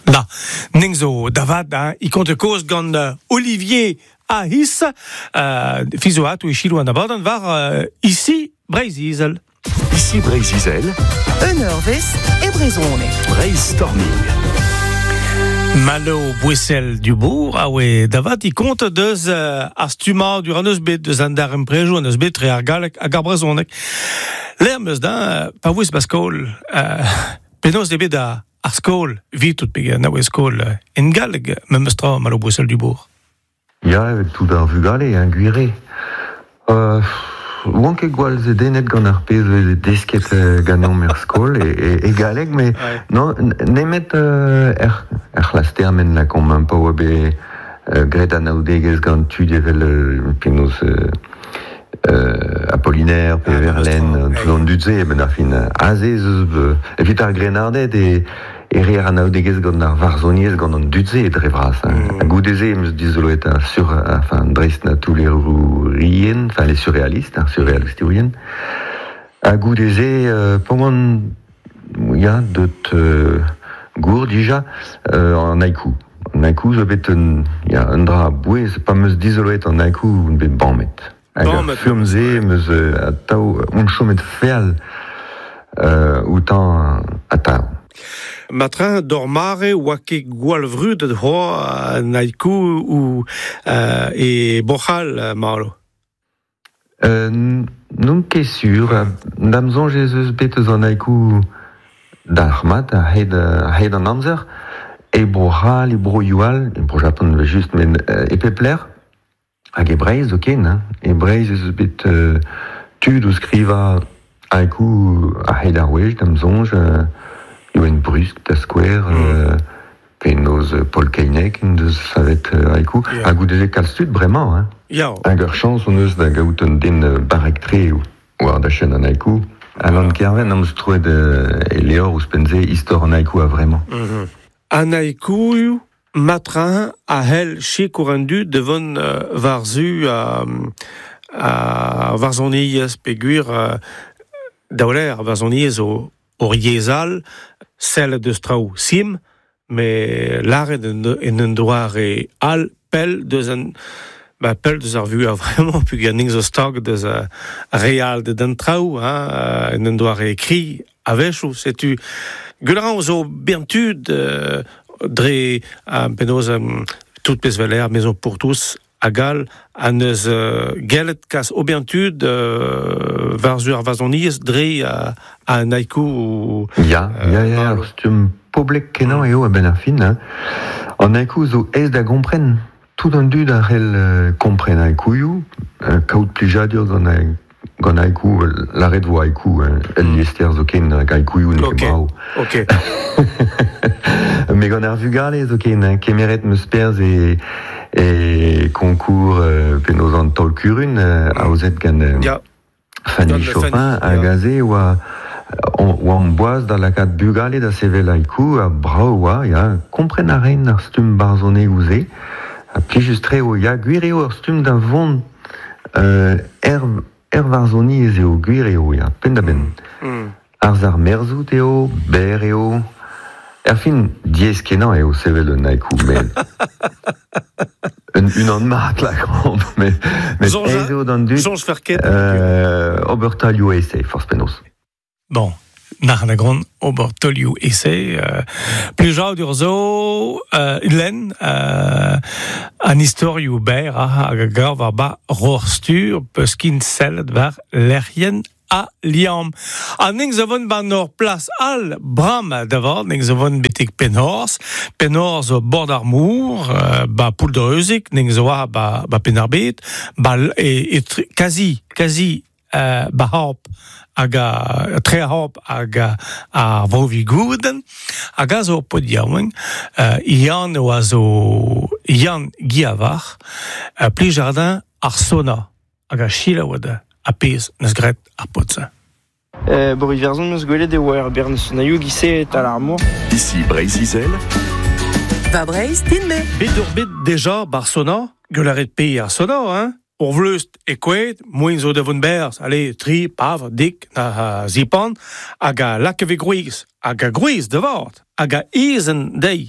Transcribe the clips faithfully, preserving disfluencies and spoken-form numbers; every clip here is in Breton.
Da, ning zo davat, hein, i konte koz gant euh, Olivier Ahis, euh, fizoat ou ichilou an abadenn war euh, ici Breizh-Izel. Ici Breizh-Izel, Un eurvezh e brezhoneg. Brainstorming. Malo Bouessel du Bourg, a oe davat, i konte deus euh, ar stumma dur an eus bet, deus an dar emprejo an eus bet tre ar galleg hag ar brezhoneg. L'air meus da, euh, pa voez ba skol, euh, penaos de bet a ar skol, vit tout pe na oe skol euh, en galleg, memes tra Malo Bouessel du Bourg. Ya, evet tout ar vugale, hein, gwire. Euh, oan ket gwall zedennet gant ar pezh veze desket euh, ganeomp er skol e, e, e galleg, mais Ouais. non, nemet euh, er, er c'hlas termen la komp un pa oa bet euh, graet an aoudegez gant tud evel euh, penaos euh, euh, Apollinaire, pe Ah, Verlaine, memes tra, tout an dud-se, ben ar fin aze eus euh, evit ar grenardet e e reer an aoudegez gant ar varzhoniezh gant an dud-se e dre vras. Hein. Mm. Ha goude-se em eus dizoloet ar sur, enfin, dreist na toulerourien, enfin les surréalistes, ar surréalistourien. Ha goude-se, euh, pa oan, ya, deut euh, gour dija, euh, an haiku. An haiku zo bet un, ya, un dra bouez, pa 'm eus dizoloet an haiku on bet bamet. Hag ar Bamet. furm-se em eus euh, atav on chomet feal euh, outañ atav. Matrin d'or mare oa ket gwall vrudet c'hoa an haiku ou euh, e Boc'hal, euh, Malo. Euh, n'on ket sur, da'm soñj ez eus bet eus an haiku dalc'hmat a hed, a hed an amzer, e Bro-C'hall, e Bro-Youal, e Bro-Japan evel just, men euh, e pep lec'h, hag e Breizh zoken, hein. E Breizh ez eus bet euh, tud o skrivañ haiku a hed ar wech, da'm soñj, euh, Youenn Brusk da skouer, Mm. euh, penaos euh, Paul Keinec en deus savet euh, haiku, Ya. ha goude-se kalz tud bremañ, hein. Ya, Hag ur chañs hon eus da gaout un den euh, barrek-tre war da chen an haiku. Alan Kerven am eus troet euh, e levr ouzhpenn-se istor an haiku a vremañ. Mm-hmm. An haikuioù matrin a hell sikour an dud devant euh, war-zu a, a varzhoniezh peogwir euh, daouler ar varzhoniezh o, o yezh sellet deus traoù sim, me lâret en, en un doare all pell deus an ba pell deus ar vu a vraiment peogwir ning zo stag deus a real de den traoù, hein, euh, en un doare kri a-wechoù, setu Gwell zo bern tud euh, dre euh, penaos euh, tout pezh veler Maison pour tous hag all an eus euh, gellet kas o bern tud euh, war-zu ar varzhoniezh dre a, a an haiku ou, Ya, Euh, ya, ya, Malo. ar stumm poblek kenañ eo a-benn ar fin. Hein. An haiku zo aes da gompren. Tout an dud a c'hell euh, kompren haikuioù, euh, kaout plijadur gant a, gant haiku, euh, lâret vo haiku, hein, el liester zoken hag haikuioù n'eo Ok. ket brav. Ok. Mais gant ar vugale zoken, hein, kemeret 'm eus perzh e, e concours euh, penaos an taol kurun, euh, aozet gant euh, Ya, Fanny Gant Chopin Fanny, hag ya. aze oa on- oa an boaz da lakaat bugale da sevel haiku ha brav oa, ya, kompren a reint ar stumm barzhonegoù-se, ha plijus-tre eo, ya, gwir eo ur stumm da vont euh, er, er varzhoniezh eo, gwir eo, ya, penn-da-benn. Mm. Arz ar merzout eo, berr eo, Erfin, diaes kenañ eo sevel un haiku, met un unan mat lakaomp, met, met Soñj a- aes eo d'an dud Soñj fer ket. euh, ober taolioù esae, forzh penaos. Bon, nac'h a gran ober taolioù esae. Euh, plijadur zo, euh, lenn, euh, an istorioù berr hag a gav war ba rorstur peus kin sellet war lec'hienn a liamm. Ha ning zo vont ban ur plas all bram da vat, ning zo vont betek Penhors, Penhors zo bord ar mour, euh, ba Pouldreuzic, ning zo a ba, ba Penarbet, ba l- e, e tri, kazi, kazi euh, ba harp hag a tre harp hag a, a Vro-Vigouden, hag a zo pod yaouank, euh, Yann oa zo Yann Guiavar, euh, Plijardin ar sona, hag a chilaouad a pezh neus graet ar pod-se. Euh, Boris Verzon meus gwelet e oa ur bern sonaioù gise tal ar mor. Ici Breizh-Izel, Va Breizh, din-me. Bet ur bet deja bar sona, gwelaret pe ar sona, hein? Ur vleust e kouet, moin zo da vont berz, allez, tri, pav, dik, na ha, zipan, hag a lakeve gwriz, hag a gwriz da vart, hag a ezen dei,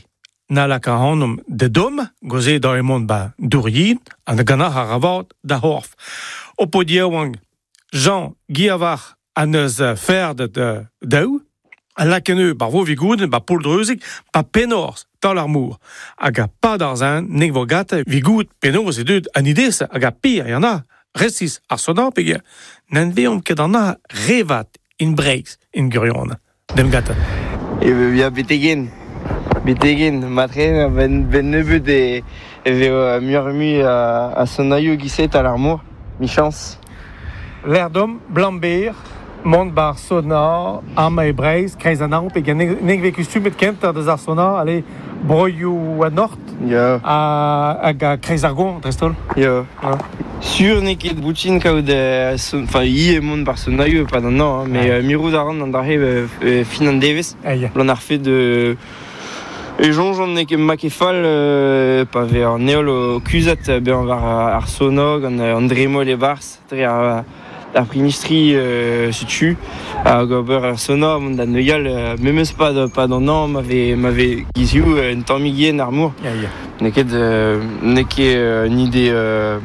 na laka hanom de dom, goze da emon ba douryin, an ganac'h ar avad da horf. O po diaouang Jean Guiavar an eus ferd de daou, a lakeneu bar vo vigouden, ba pouldreuzik, ba penors, tal ar mour. Hag a pad ar zin, nek vo gata vigoud penors e deud an idez, hag a pir, y en a, resis ar sonar peger, n'en veomp ket an a revat in breiz in gurion. Dem gata. E ya betegen, betegen, matre, ben, ben nebeut e, e veo muioc'h mui a, a sonaioù giset al ar mor, mi chans. L'erdom, blamber, mont bar sona, arma e breiz, kreiz an amp, hag nek ve kustumet kent deus ar sona, ale broioù a nord, Ya. hag a kreiz ar gon, drestol. Ya. Ah. Sur n'eo ket boutin kaout son, enfin i e mont bar sonaioù pa d'an an, hein, mais euh, mirout a ran an dare euh, fin an devez. Eia. L'an ar fait de E jonjon n'eo ket ma ket fall euh, pa ve ar neol o kuzat bezañ war ar sonog an, an dremol e barz dre ar, ar prinistri euh, setu hag ober ar sonor mont da neuial euh, memes pa pa d'an an m'ave m'ave gizioù un tammig yen ar mour. Eia. N'eo ket euh, n'eo ket euh, un ide euh,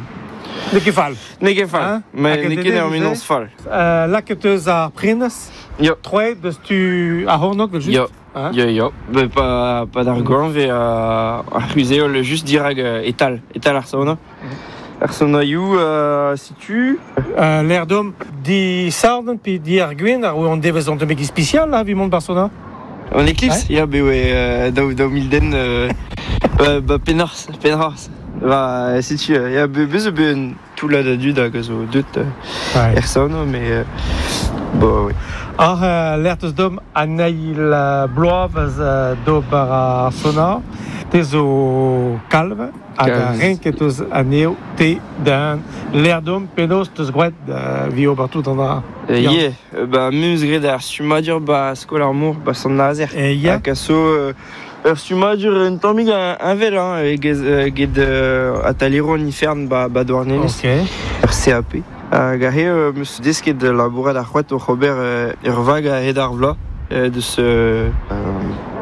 N'eo ket fall. N'eo ket fall, Hein? mais Hag n'eo ket ur menons fall. Euh, laket eus ar prenez, Yo. troet deus tu ar hornog, vel just. Yo. Hein? Yo, yo. Be, pa, pa d'ar goanv e uh, ar c'huzeol just dirag uh, etal, etal ar saona. Ar saonaioù uh, situ. Euh, l'air d'homme di sarden pi di ar gwen ar an devez an temegi spécial là, vi mont bar sona. An Eclipse, ya, be oe euh, daou, daou mil den euh, ba, ba penars, penars. Ba, setu, ya, be, be zo be un toullad a dud hag a zo deut euh, Ouais. er saona, mais euh, bo, oui. Ar euh, l'air deus d'homme an eil euh, bloavez euh, d'ober ar sona, te zo kalv, hag a Kalv. renket eus anezho te d'un l'air d'homme penaos deus gwraet euh, vi ober tout an ar. Euh, Ya. yeah, euh, ba, meus graet ar stummadur ba skol ar mor, ba sant Nazer. E ya, Hag a zo euh, ur stummadur un tammig un, un vel, hein, e gez, euh, get euh, atalero an ifern ba, ba Douarnenez, ok. ur C A P. Hag a he, euh, meus desket labourat ar c'hoat oc'h ober euh, ur vag a hed ar vloaz, euh, deus... Euh,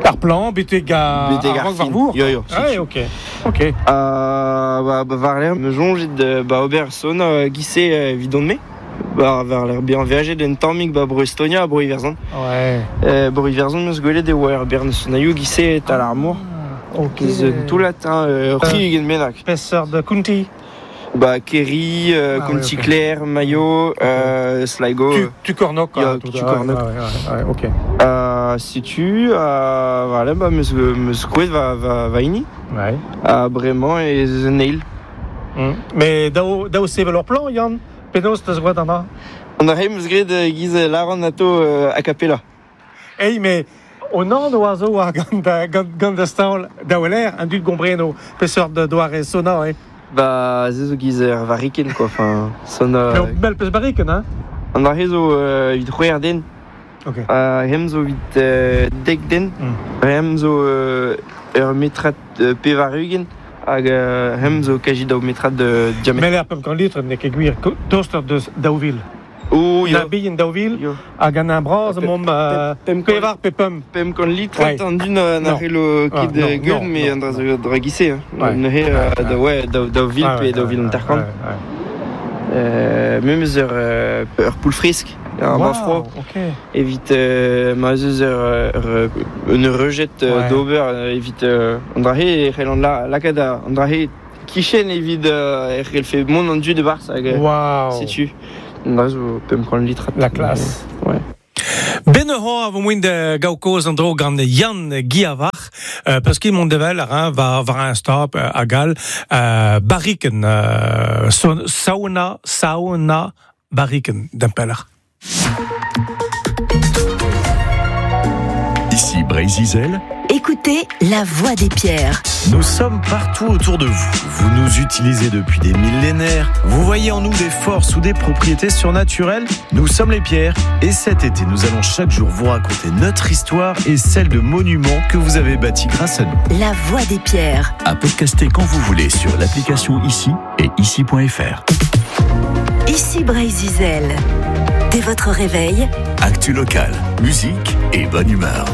Ar plan, betek a betek ar ar war fin. vour. Yo, yo, Ouais, ok. Ok. Ah, ba, ba war l'air, me jonget de, ba ober son euh, gise euh, vidon me. Ba war l'air bien veajet d'un tammig ba bro Estonia, bro Iverzon. Ouais. Euh, bro Iverzon meus gwelet e oa ur bern sonaioù gise tal ar mor. Ok. Eus un toullad, hein, euh, tri ugent bennak. Spesseur de County. Ba Kerry, euh, Ah, County ouais, ok. Clare, Mayo, euh, Sligo. Tu, tu Cornoc, Ya, hein, tout tu à- Cornoc. Ouais, ouais, ouais, ok. Euh, setu, euh, voilà, ba meus, meus kouet va, va, va hini. Ouais. Ha bremañ e eus un eil. Mm. Mais daou, daou sevel ur plan, Yann, penaos teus gwraet an dra? An a meus graet euh, giz laran ato euh, a cappella. Ei, mais on an oa zo war gant, da- gant, gant da staol daou l'air, an dud gombreno peseurt de doare sona, eh. Ba, ze zo giz ur variken, quoi, enfin, son... Euh, Euh, mel peus barriken, hein? an a zo euh, evit c'hwec'h den, Ok. uh, hem zo evit euh, dek den, Mm. hem zo euh, ur metrad euh, pevar ugent, hag euh, hem zo kaji daou metrad de diamètre. Mel ar pemp kant litr, n'eo ket gwir toster deus daou vil. Oh, Na yo, bihan daou vil, yo. hag an un bras, Pe- mom euh, pemp kant- pevar pe pemp. Pemp kant litr Ouais. an dun euh, na Non. c'hello Ah, ket non, euh, gueul, non, mais non, an dra non. zo dra gise, hein. Ouais. Neuze, euh, da, ouais, daou, daou vil Ah, pe ouais, daou vil ouais, hanter kant. ouais, ouais. Euh, memes ur, euh, ur poul fresk, un Wow, bas froid. ok. Evit euh, ma eus ur, ur, un rejet euh, Ouais. d'ober euh, evit euh, an dra he e c'hell an la, lakaat a- an dra he kichen evit euh, e c'hell fe mont an du de barz hag euh, Wow. setu. An dra zo pemp kant litrat. La classe. Ouais. Ben ur a vo moin de gaokoz an dro gant Yann Guiavar, euh, parce qu'il mont devel ar un war, war un stop euh, a gal, euh, barriken, euh, son, sauna, sauna, barriken, d'impeller. Ici Brésil, Écoutez La Voix des Pierres. Nous sommes partout autour de vous. Vous nous utilisez depuis des millénaires. Vous voyez en nous des forces ou des propriétés surnaturelles. Nous sommes les pierres. Et cet été, nous allons chaque jour vous raconter notre histoire et celle de monuments que vous avez bâtis grâce à nous. La Voix des Pierres. à podcaster quand vous voulez sur l'application ici et ici point F R. Ici Brésil. Dès votre réveil, Actu locale, musique et bonne humeur.